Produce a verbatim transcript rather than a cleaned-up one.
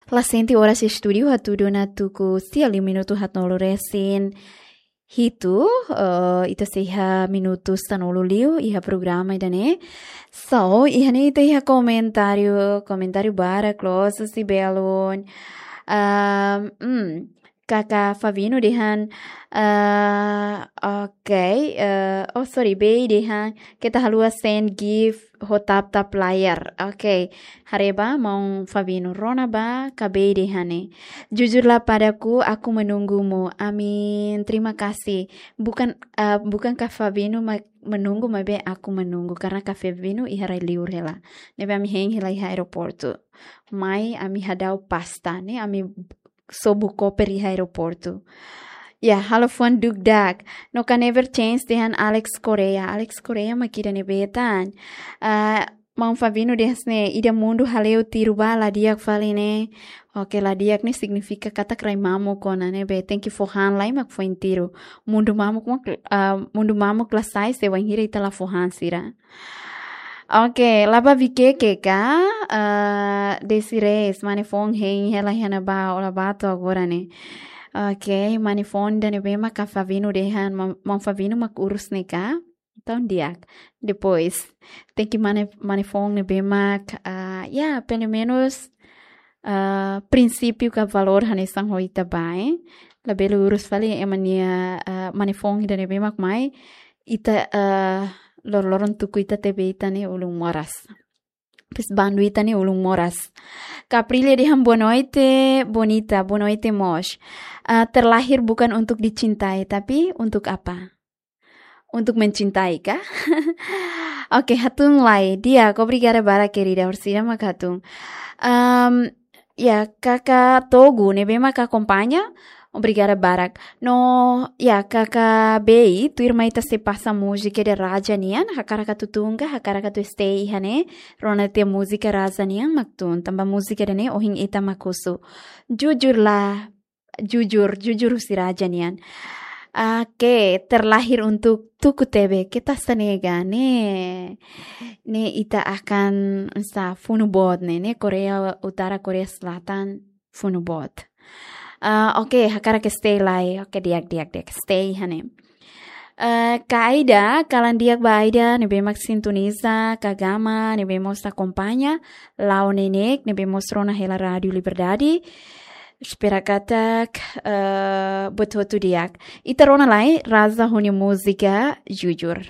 Klasenti, oras iha estúdiu hatudu ona tuku sia liu minutu haatnulu resin hitu, eh, ita sei iha minutu sanulu liu iha programa ida-ne'e. So, iha ne'e ita iha komentáriu, komentáriu barak loos, husi belun. Ahm, hmm, Kaka Favino dehan, eh, oke, eh, oh, sorry, Bey dehan, keta haluha send gift ho tap-tap layar. Oke, haree ba, maun Favino, rona ba, ka Bey dehan ne'e. Jujurlah padaku, aku menunggumu. Amin, terima kasih. Bukan, eh, bukan Kak Favino ma-, menunggu, maibé aku menunggu. Karena Kak Favino iha rai-liur hela. Ne'ebé ami hein hela iha aeroportu. Mai ami hadau pasta, ne'e ami sobu koper iha aeroportu. Ya, halo fuan dukdak. No can never change dehan Alex Correa. Alex Correa mak ida ne'ebé tan. Ah, maun Favino dehan hanesan ne'e, ida mundu hale'u tiru ba la di'ak fali ne'e. Oke, la di'ak ne'e signifika katak rai mamuk ona ne'ebé. Tenke fó han lai mak foin tiru. Mundu mamuk mak, ah, mundu mamuk la sai se wainhira ita la fó han sira. Oke, la ba Vikeke ka, eh, Desiree, mane foun hein hela iha ne'ebá, ó la ba to'o agora ne'e. Oke, mane foun ida ne'ebé mak Kak Favino dehan, ma-, maun Favino mak urus ne'e ka. Entaun di'ak. Depois, tenke mane, mane foun ne'ebé mak, ah, ya, pelumenus, ah, prinsípiu ka valór hanesan ho ita ba, eh. Labele urus fali ema nia, ah, mane foun ida ne'ebé mak mai, ita, eh, lor-loron tuku ita tebe ita-nia ulun moras. Pes bandu ita-nia ulun moras. Caprilia dehan boa noite, bonita, boa noite mós. Ah, terlahir bukan untuk dicintai, tapi untuk apa? Untuk mencintai ka? Oke, hatún lai. Di'ak, obrigada barak, querida. Orsida mak hatún. Ahm, ya, Kaka Togu, ne'ebé mak akompaña. Obrigada barak. No, ya, Kaka Bey, tuirmai ita sei pasa múzika ida Raja nian, hakarak atu tun ka, hakarak atu stay iha ne'e, rona tiha múzika Raja nian mak tun, tanba múzika ida-ne'e ohin ita mak husu. Jujurlah, jujur, jujur husi Raja nian. Oke, terlahir untuk tuku tebe, keta hanesan ne'e ka, ne'e, ne'e ita akan sa funu boot ne'e, ne'e Korea Utara, Korea Selatan, funu boot. Ah, oke, hakarak stay lai. Oke, di'ak, di'ak, di'ak. Stay iha ne'e. Eh, Kak Aida, kalan di'ak ba Aida, ne'ebé mak sintoniza, Kak Gama, ne'ebé mós akompaña, Lau Nenek, ne'ebé mós rona hela Rádiu Liberdade. Espera katak, eh, buat hotu di'ak. Ita rona lai, Raza ho nia múzika, Jujur.